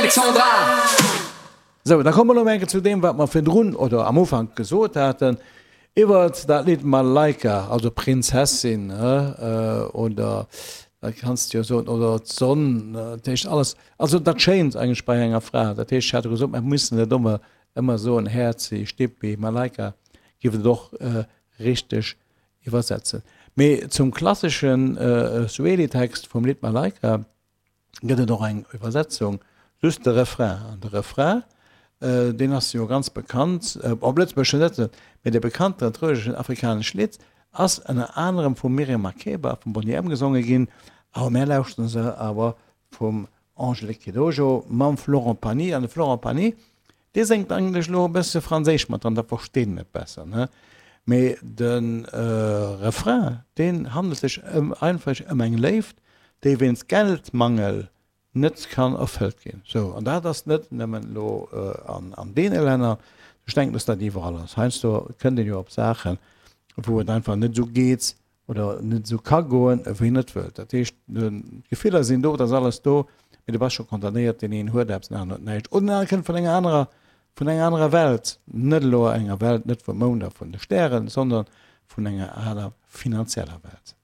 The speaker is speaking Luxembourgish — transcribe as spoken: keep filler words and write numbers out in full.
Alexandra. Sou, da komme mer elo enke zu deem, wat mer virdrun oder am Ufank gesot haten iwwert dat Lidd Malaika, also Prinzessin, oder da kanns de jo soen, oder d'Sonn, dat heescht alles, also dat Schéint eigentlech bei enger Fra. Dat heescht, ech hat jo gesot, mer mussen net ëmmer ëmmer soen Häerzi, Stippi, Malaika, giff et och richteg iwwersetzen. Mee zum klassesche Swahili-Text vum Lidd Malaika gëtt et och eng Iwwersetzung, just de Refrain. An de Refrain, deen ass jo ganz bekannt, op Lëtzebuergesch net, mee de bekannten trögeschen afrikanesch Lidd ass ënner anerem vum Miriam Makeba a vum Boney M gesonge ginn, awer mär lauschteren se awer vum Angélique Kidjo mam Florent Pagny. An de Florent Pagny, dee séngt eigentlech elo e bësse franséisch mat dran, da versteet een et besser, ne? Mee de Refrain, deen handelt sech ëm einfach ëm eng Léift, déi wéinst Geldmangel net kann erfëllt ginn. Sou, an dat ass net nëmmen elo an deene Länner, ech denken, dass dat iwwerall ass. Heiansdo kënnt een jo op Saachen, wou et einfach net esou geet oder net esou ka goen, wéi een et wëllt. Dat heescht, d'Gefiller sinn do, et ass alles do, mee du bass scho condamnéiert, deen een huet eppes, den aneren huet näischt. Oder den anere kënnt vun enger anerer, vun enger anerer Welt, net elo enger Welt net vum Mound a vun de Stären, sondern vun enger aner finanzieller Welt.